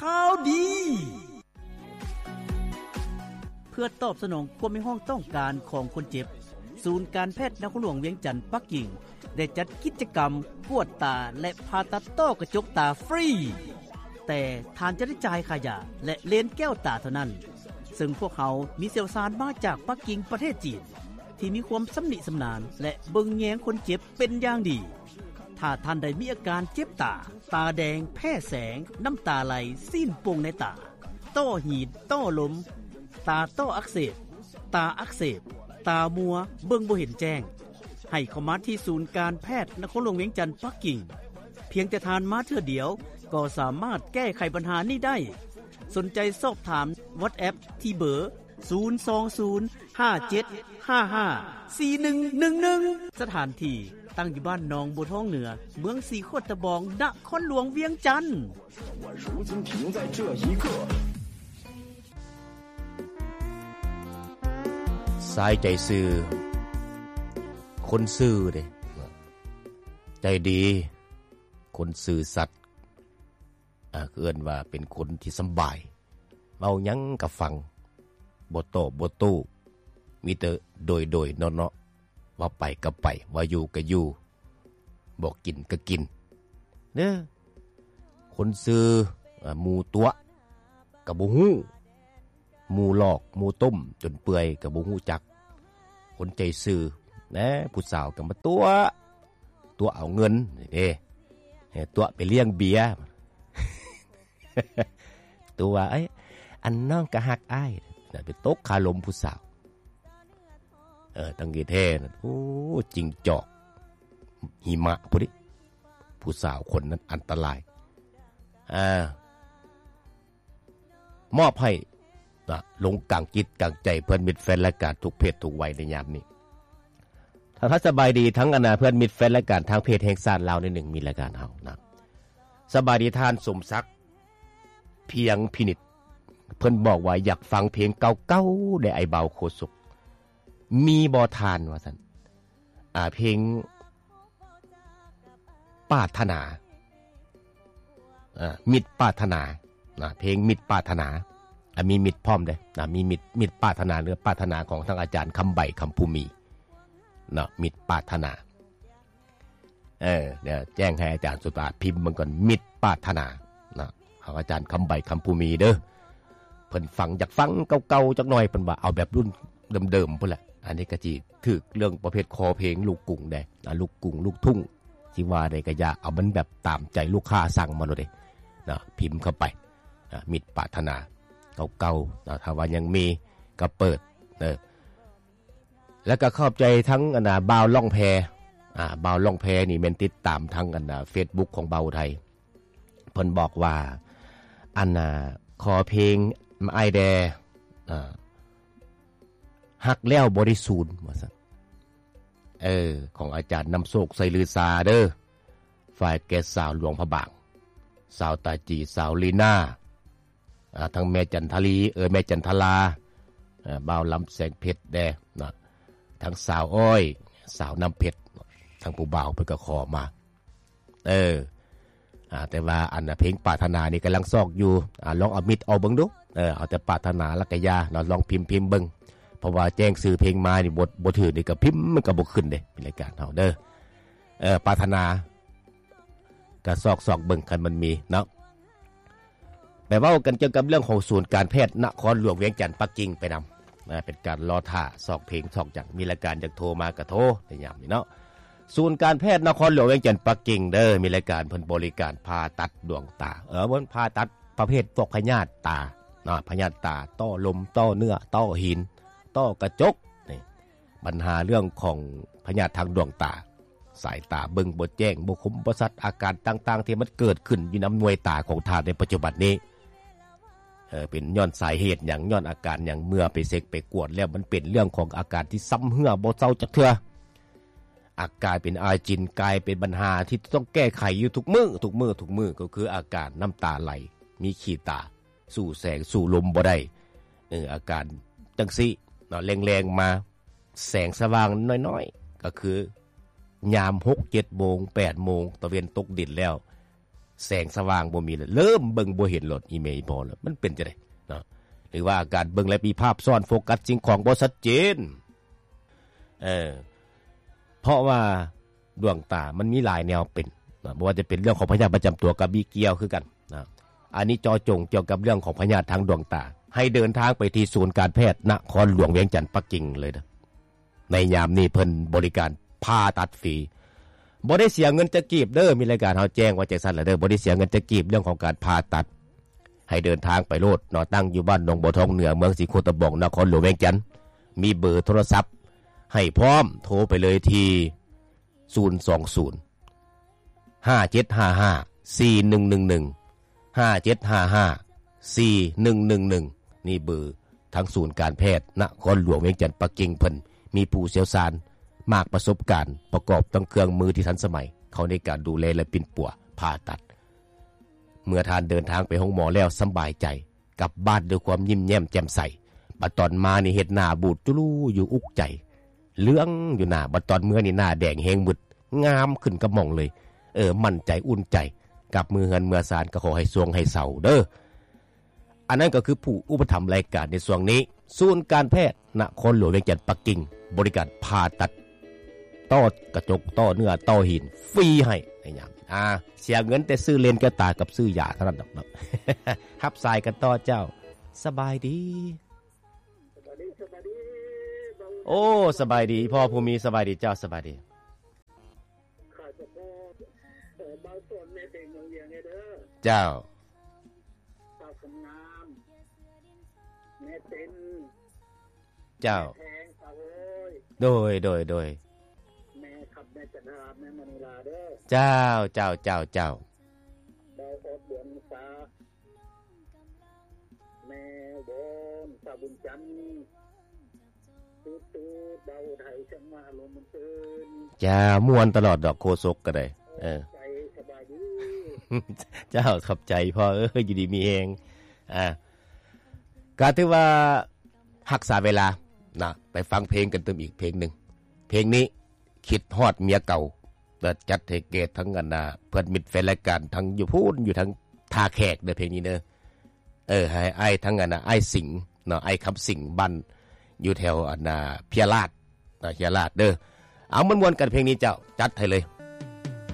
ຂ່າວດີ. ເພື່ອຕອບສະໜອງຄວາມຮຽກຮ້ອງຕ້ອງການຂອງຄົນເຈັບ, ສູນການແພດນະຄອນຫຼວງວຽງຈັນປັກກິ່ງ ໄດ້ຈັດກິດຈະກຳກວດຕາ ແລະ ຜ່າຕັດຕ້ອກະຈົກຕາຟຣີ, ແຕ່ທ່ານຈະໄດ້ຈ່າຍຄ່າຢາ ແລະ ເລນແກ້ວຕາເທົ່ານັ້ນ, ເຊິ່ງພວກເຮົາມີຊ່ຽວຊານມາຈາກປັກກິ່ງ ປະເທດຈີນ ທີ່ມີຄວາມຊຳນິຊຳນານ ແລະ ເບິ່ງແຍງຄົນເຈັບເປັນຢ່າງດີ. ຖ້າທ່ານໃດມີອາການເຈັບຕາ, ຕາແດງ, ແພ້ແສງ, ນ້ຳຕາໄຫຼ, ຊີ້ນໂປ່ງໃນຕາ, ຕ້ອຫີນ, ຕ້ລົມ, ຕາຕ້ອອັກເສບ, ຕາອັກເສບ, ຕາມົວ, ເບິ່ງບໍ່ເຫັນແຈ້ງ, ໃຫ້ເຂົ້າມາທີ່ສູນການແພດນະຄອນຫຼວງວຽງຈັນປັກກິ່ງ. ພຽງແຕ່ທ່ານມາເທື່ອດຽວ ກໍສາມາດແກ້ໄຂບັນຫານີ້ໄດ້. ສົນໃຈສອບຖາມ WhatsApp ທີ່ເບີ ສູນສອງສູນ ຫ້າເຈັດຫ້າຫ້າ ສີ່ໜຶ່ງໜຶ່ງໜຶ່ງ. ສະຖານທີ່ຕັ້ງຢູ່ບ້ານໜອງບົວທອງເໜືອ, ເມືອງສີຂວດຕະບອງ, ນະຄອນຫຼວງວຽງຈັນ. ຊາຍໃຈຊື່ ຄົນຊື່ເດ້ ໃຈດີ ຄົນຊື່ສັດ ອ່າ ເອີ້ນວ່າເປັນຄົນທີ່ສຳບາຍ ເວົ້າຫຍັງກໍຟັງ ບໍ່ຕອບບໍ່ໂຕ້ ມີແຕ່ໂດຍໆເນາະໆ ວ່າໄປກໍໄປ ວ່າຢູ່ກໍຢູ່ ບໍ່ກິນກໍກິນເດີ. ຄົນຊື່ ອ່າ ໝູຕົວະກໍບໍ່ຮູ້ ໝູຫຼອກ ໝູຕົ້ມຈົນເປື່ອຍກໍບໍ່ຮູ້ຈັກ. ຄົນໃຈຊື່ນະ ຜູ້ສາວກໍມາຕົວະ ຕົວະເອົາເງິນເດ້ ຕົວະໄປລ້ຽງເບຍ ຕົວະ ເອີຍ ອັນນ້ອງກໍຮັກອ້າຍ ໄປຕົກຄາລົມຜູ້ສາວ. ເອີ ຕັ້ງທີ່ແທ້ນັ້ນ ໂອ້ ຈິງຈອກຫິມະພຸ້ນເດ ຜູ້ສາວຄົນນັ້ນອັນຕະລາຍ. ອ່າ ມອບໃຫ້ນະ ລົງກາງຈິດກາງໃຈເພື່ອນມິດແຟນລາຍການທຸກເພດທຸກໄວໃນຍາມນີ້. ທັກທາຍສະບາຍດີທັງອັນນາ ເພື່ອນມິດແຟນລາຍການທາງເພຈແຫ່ງຊາດລາວໜ້ອຍໜຶ່ງ ມີລາຍການເຮົານະ. ສະບາຍດີທ່ານສົມສັກ ພຽງພິນິດ ເພິ່ນບອກວ່າຢາກຟັງເພງເກົ່າໆ ແດ່ອ້າຍບ່າວໂຄສົກ ມີບໍ່ທ່ານ ວ່າຊັ້ນ. ອ່າ ເພງປາດຖະໜາ ເອີ ມິດປາດຖະໜານະ ເພງມິດປາດຖະໜາ ອ່າ ມີມິດພ້ອມເດ້ນະ ມີມິດ ມິດປາດຖະໜາ ຫຼື ປາດຖະໜາຂອງທາງອາຈານຄຳໃບ ຄຳພູມີເນາະ ມິດປາດຖະໜາ. ເອີ ດຽວແຈ້ງໃຫ້ອາຈານສຸດາພິມເບິ່ງກ່ອນ ມິດປາດຖະໜາເນາະ ຂອງອາຈານຄຳໃບ ຄຳພູມີເດີ. ເພິ່ນຟັງ ຢາກຟັງເກົ່າໆຈັກໜ່ອຍ ເພິ່ນວ່າເອົາແບບລຸ້ນເດີມໆພຸ້ນແຫຼະ. ອັນນີ້ກໍຊິຖືກເລື່ອງປະເພດຄໍເພງລູກກຸງແດ່ ອ່າ ລູກກຸງ ລູກທຸ່ງ ຊິວ່າໃດກໍຢ່າ ເອົາມັນແບບຕາມໃຈລູກຄ້າສັ່ງມາໂລດເດ້ເນາະ ພິມເຂົ້າໄປ ອ່າ ມິດປາດຖະໜາເກົ່າໆເນາະ ຖ້າວ່າຍັງມີກໍເປີດເດີ. ແລ້ວກໍຂອບໃຈທັງອັນນາ ບ່າວລ່ອງແພ ອ່າ ບ່າວລ່ອງແພນີ້ແມ່ນຕິດຕາມທັງອັນນາ ເຟສບຸກຂອງບ່າວໄທ ເພິ່ນບອກວ່າ ອັນນາ ຂໍເພງອ້າຍແດ່ ອ່າ ຮັກແລ້ວບໍ່ໄດ້ສູນ ວ່າຊັ້ນ. ເອີ ຂອງອາຈານນຳໂຊກ ໄຊລືຊາເດີ ຝ່າຍແກ່ສາວຫຼວງພະບາງ ສາວຕາຈີ ສາວລີນາ ອ່າ ທັງແມ່ຈັນທະລີ ເອີ ແມ່ຈັນທະລາ ເອີ ບ່າວລຳແສງເພັດແດ່ນະ ທັງສາວອ້ອຍ ສາວນ້ຳເພັດ ທັງຜູ້ບ່າວເພິ່ນກໍຂໍມາ. ເອີ ອ່າ ແຕ່ວ່າອັນນະ ເພງປາດຖະໜານີ້ກຳລັງຊອກຢູ່ ອ່າ ລອງເອົາມິດອອກເບິ່ງດູ ເອີ ເອົາແຕ່ປາດຖະໜາແລ້ວກໍຢ່າເນາະ ລອງພິມ ພິມເບິ່ງ ເພາະວ່າແຈ້ງຊື່ເພງມານີ້ ບໍ່ ບໍ່ຖືກນີ້ກໍພິມມັນກໍບໍ່ຂຶ້ນເດ້ ໃນລາຍການເຮົາເດີ. ເອີ ປາດຖະໜາ ກໍຊອກໆເບິ່ງ ຄັນມັນມີເນາະ. ໄປເວົ້າກັນກ່ຽວກັບເລື່ອງຂອງສູນການແພດນະຄອນຫຼວງວຽງຈັນປັກກິ່ງໄປນຳນະ ເປັນການລໍຖ້າຊອກເພງຊອກຫຍັງ ມີລາຍການຢາກໂທມາກໍໂທໃນຍາມນີ້ເນາະ. ສູນການແພດນະຄອນຫຼວງວຽງຈັນປັກກິ່ງເດີ ມີລາຍການເພິ່ນບໍລິການຜ່າຕັດດວງຕາ ເອີ ເພິ່ນຜ່າຕັດປະເພດພວກພະຍາດຕາເນາະ ພະຍາດຕາ ຕ້ອລົມ ຕ້ອເນື້ອ ຕ້ອຫີນ ຕ້ອກະຈົກ ນີ້ ບັນຫາເລື່ອງຂອງພະຍາດທາງດວງຕາ ສາຍຕາເບິ່ງບໍ່ແຈ້ງ ບໍ່ຄົມບໍ່ຊັດ ອາການຕ່າງໆທີ່ມັນເກີດຂຶ້ນຢູ່ນຳໜ່ວຍຕາຂອງທ່ານໃນປັດຈຸບັນນີ້ ເອີ ເປັນຍ້ອນສາເຫດຫຍັງ ຍ້ອນອາການຫຍັງ ເມື່ອໄປເຊັກໄປກວດແລ້ວ ມັນເປັນເລື່ອງຂອງອາການທີ່ຊຳເຮື້ອບໍ່ເຊົາຈັກເທື່ອ ອາການເປັນອາຈິນ ກາຍເປັນບັນຫາທີ່ຕ້ອງແກ້ໄຂຢູ່ທຸກມື້ ທຸກມື້ ທຸກມື້ ກໍຄືອາການນ້ຳຕາໄຫຼ ມີຂີ້ຕາ ສູ້ແສງສູ້ລົມບໍ່ໄດ້ ເອີ ອາການຈັ່ງຊີ້ເນາະ ແລງໆມາ ແສງສະຫວ່າງນ້ອຍໆ ກໍຄືຍາມຫົກເຈັດໂມງ ແປດໂມງ ຕາເວັນຕົກດິນແລ້ວ ແສງສະຫວ່າງບໍ່ມີແລ້ວ ເລີ່ມເບິ່ງບໍ່ເຫັນໂລດ ອີ່ແມ່ອີ່ພໍ່ແລ້ວ ມັນເປັນຈັ່ງໃດເນາະ? ຫຼືວ່າການເບິ່ງແລ້ວມີພາບຊ້ອນ ໂຟກັສສິ່ງຂອງບໍ່ຊັດເຈນ ເອີ ເພາະວ່າດວງຕາມັນມີຫຼາຍແນວເປັນເນາະ ບໍ່ວ່າຈະເປັນເລື່ອງຂອງພະຍາດປະຈຳຕົວກໍມີກ່ຽວຄືກັນເນາະ. ອັນນີ້ເຈາະຈົງກ່ຽວກັບເລື່ອງຂອງພະຍາດທາງດວງຕາ ໃຫ້ເດີນທາງໄປທີ່ສູນການແພດນະຄອນຫຼວງວຽງຈັນ ປັກກິ່ງເລີຍເດີ. ໃນຍາມນີ້ເພິ່ນບໍລິການຜ່າຕັດຟຣີ ບໍ່ໄດ້ເສຍເງິນຈັກກີບເດີ. ມີລາຍການເຮົາແຈ້ງວ່າຈັ່ງຊັ້ນລະເດີ ບໍ່ໄດ້ເສຍເງິນຈັກກີບ ເລື່ອງຂອງການຜ່າຕັດ ໃຫ້ເດີນທາງໄປໂລດເນາະ. ຕັ້ງຢູ່ບ້ານໜອງບົວທອງເໜືອ ເມືອງສີໂຄດຕະບອງ ນະຄອນຫຼວງວຽງຈັນ ມີເບີໂທລະສັບໃຫ້ພ້ອມ ໂທໄປເລີຍທີ່ ສູນສອງສູນ ຫ້າເຈັດຫ້າຫ້າ ສີ່ໜຶ່ງໜຶ່ງໜຶ່ງ ຫ້າເຈັດຫ້າຫ້າ ສີ່ໜຶ່ງໜຶ່ງໜຶ່ງ ນີ້ເບີທາງສູນການແພດນະຄອນຫຼວງວຽງຈັນ ປັກກິ່ງ ເພິ່ນມີຜູ້ຊ່ຽວຊານ ມາກປະສົບການ ປະກອບທັງເຄື່ອງມືທີ່ທັນສະໄໝ ເຂົ້າໃນການດູແລ ແລະ ປິ່ນປົວຜ່າຕັດ. ເມື່ອທ່ານເດີນທາງໄປໂຮງໝໍແລ້ວສຳບາຍໃຈ ກັບບ້ານດ້ວຍຄວາມຍິ້ມແຍ້ມແຈ່ມໃສ. ບັດຕອນມານີ້ເຮັດໜ້າບູດຈຸລູຢູ່ ອຸກໃຈ ເຫຼືອງຢູ່ໜ້າ. ບັດຕອນເມືອນີ້ໜ້າແດງແຮງ ມຶດງາມຂຶ້ນກັບໝ່ອງເລີຍ. ເອີ ໝັ້ນໃຈ ອຸ່ນໃຈ ກັບເມືອເຮືອນເມືອຊານ ກໍຂໍໃຫ້ຊ່ວງໃຫ້ເຊົາເດີ. ອັນນັ້ນກໍຄືຜູ້ອຸປະຖຳລາຍການໃນຊ່ວງນີ້ ສູນການແພດນະຄອນຫຼວງວຽງຈັນ ປັກກິ່ງ ບໍລິການຜ່າຕັດ ຕໍ່ກະຈົກ ຕໍ່ເນື້ອ ຕໍ່ຫີນ ຟຣີໃຫ້ໃນຍາມ ອ່າ ເສຍເງິນແຕ່ຊື້ເລນແກ້ວຕາກັບຊື້ຢາເທົ່ານັ້ນດອກເນາະ. ຮັບສາຍກັນຕໍ່ເຈົ້າ. ສະບາຍດີ. ສະບາຍດີ ສະບາຍດີ. ໂອ້ ສະບາຍດີ ພໍ່ຜູ້ມີ. ສະບາຍດີເຈົ້າ ສະບາຍດີ. ຂາຍສະໂພກ ເອີ ບ່າວສອນແມ່ເພັງເມືອງວຽງເດີ. ເຈົ້າ. ສາວຄຳງາມ ແມ່ເຕັນ. ເຈົ້າ. ແພງ ສາວໂອ້ຍ. ໂດຍ ໂດຍ ໂດຍ. ແມ່ຄຳ ແມ່ຈັນທາ ແມ່ມະນີລາເດີ. ເຈົ້າ ເຈົ້າ ເຈົ້າ ເຈົ້າ. ບ່າວອອດ ດວງສາ ແມ່ວອນ ສາວບຸນຈັນ. ຕູດໆ ບ່າວໄທ ເຊີນມາອາລົມມັນເຕີນ. ເຈົ້າ ມ່ວນຕະຫຼອດດອກ ໂຄສົກກໍໄດ້. ເອີ ໃຈສະບາຍດີ. ເຈົ້າ ຂອບໃຈພໍ່ເອີຍ ຢູ່ດີມີແຮງ. ອ່າ ກໍຖືວ່າຮັກສາເວລານະ ໄປຟັງເພງກັນຕື່ມອີກເພງໜຶ່ງ. ເພງນີ້ຄິດຮອດເມຍເກົ່າ ແລ້ວຈັດໃຫ້ແກ່ທັງອັນນ່າ ເພື່ອນມິດແຟນລາຍການ ທັງຢູ່ພຸ້ນ ຢູ່ທາງທ່າແຂກເດີ ເພງນີ້ເດີ. ເອີ ໃຫ້ອ້າຍທັງອັນນ່າ ອ້າຍສິງເນາະ ອ້າຍຄຳສິງ ບ້ານຢູ່ແຖວອັນນ່າ ເພຍລາດເນາະ ເພຍລາດເດີ. ເອົາ ມ່ວນໆ ກັນເພງນີ້ເຈົ້າ ຈັດໃຫ້ເລີຍ.